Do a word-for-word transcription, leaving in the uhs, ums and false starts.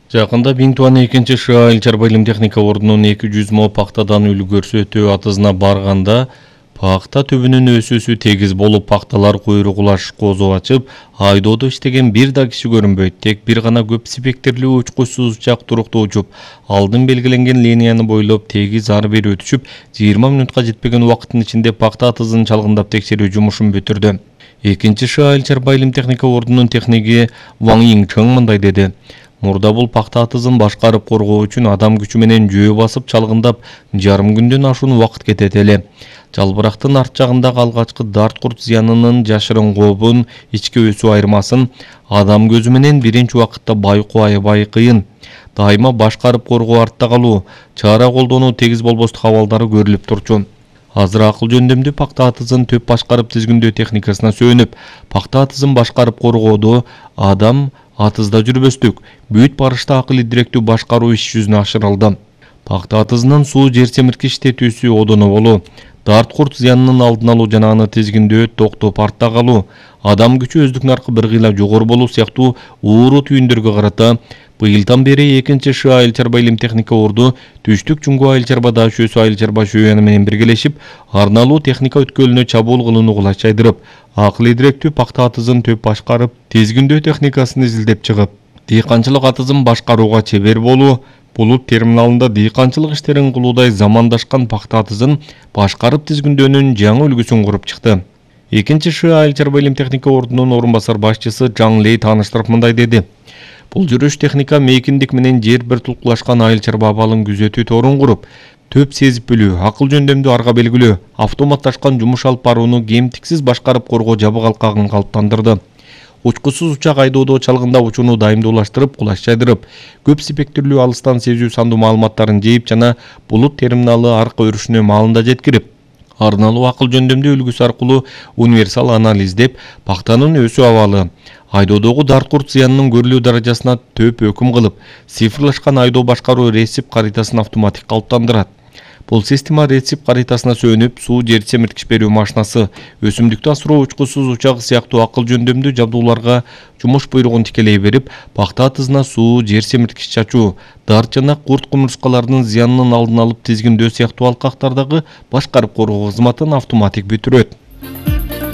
Жакында Биң Туан экинчи ША айыл чарба илим техника ордунун эки жүз мо пактадан үлгөрсү өтөө атызына барганда пакта түбүнүн өсүүсү тегиз болуп, пакталар куйругулаш козу ачып, айдоодо иштеген бир да киши көрүнбөйт. Тек бир гана көп спектрлүү учкучсуз учак туруктуу учуп, алдын белгиленген линияны бойлоп тегиз ары бери өтүшүп, жыйырма мүнөткө жетпеген убакыттын ичинде пакта атызын чалгындап текшерүү жумушун бүтүрдү. экинчи ША айыл чарба илим техника ордунун техниги Ван Йиңчың мындай деди: Мурда бул пакта атызын башкарып коргоо үчүн адам күчү менен жөө басып чалгындап жарым күндөн ашуун убакыт кетет эле. Жалбырактын арт жагындагы алгачкы дарт курт зыянынын жашырын кообун, ички өсүү айырмасын адам көзү менен биринчи убакытта байкоо аябай кыйын. Дайыма башкарып коргоо артта калуу, чара колдонуу тегиз болбостук абалдары көрүлүп турчу. Азыр акыл жөндөмдүү пакта атызын төп башкарып тизгиндөө техникасына сүйөнүп, пакта атызын башкарып коргоодо адам атызда жүрбөстүк, бүт барышта акыл идиректүү башкаруу иш жүзүнө ашырылды. Пакта атызынын суу жер семирткич тетүүсү одоно болуу, дарт курт зыянынын алдын алуу жана аны тизгиндөө токтоп артта калуу, адам күчү өздүк наркы бир кыйла жогору болуу сыяктуу ууру түйүндөргө карата быйылдан бери экинчи ША айыл чарба илим техника орду Түштүк Жуңгу айыл чарба даш өсүү айыл чарба шөйөнү менен биргелешип, арналуу техника өткөлүнө чабуул кылууну кулач жайдырып, акыл идиректүү пакта атызын төп башкарып, тизгиндөө техникасын изилдеп чыгып, дыйканчылык атызын башкарууга чебер болуу, булут терминалында дыйканчылык иштерин кылуудай замандашкан пакта атызын башкарып тизгиндөөнүн жаңы үлгүсүн куруп чыкты. экинчи ША айыл чарба илим техника ордунун орун басар башчысы Жаң Лей тааныштырып мындай деди: Бул жүрүш техника мейкиндик менен жер бир тулкулашкан айыл чарба абалын күзөтүү торун куруп, төп сезип билүү, акыл жөндөмдүү арга белгилөө, автоматташкан жумуш алып барууну кемтиксиз башкарып коргоо жабык алкагын калыптандырды. Учкучсуз учак айдоодо чалгындап учууну дайымдуулаштырып, кулач жайдырып, көп спектрлүү алыстан сезүү сандуу маалыматтарын жейип жана булут терминалы аркы өрүшүнө маалында жеткирип, арналуу акыл жөндөмдүү үлгүсү аркылуу универсал анализдеп, пактанын өсүү абалы, айдоодогу дарт курт зыянынын көрүлүү даражасына төп өкүм кылып, цифрлашкан айдоо башкаруу рецепт каритасын автоматик калыптандырат. Бул система рецепт каритасына сүйөнүп, суу жер семирткич берүү машинасы, өсүмдүктү асыроо учкучсуз учагы сыяктуу акыл жөндөмдүү жабдууларга жумуш буйругун тикелей берип, пакта атызына суу жер семирткич чачуу, дарт жана курт кумурскаларынын зыянынын алдын алып тизгиндөө сыяктуу алкактардагы башкарып коргоо кызматын автоматик бүтүрөт.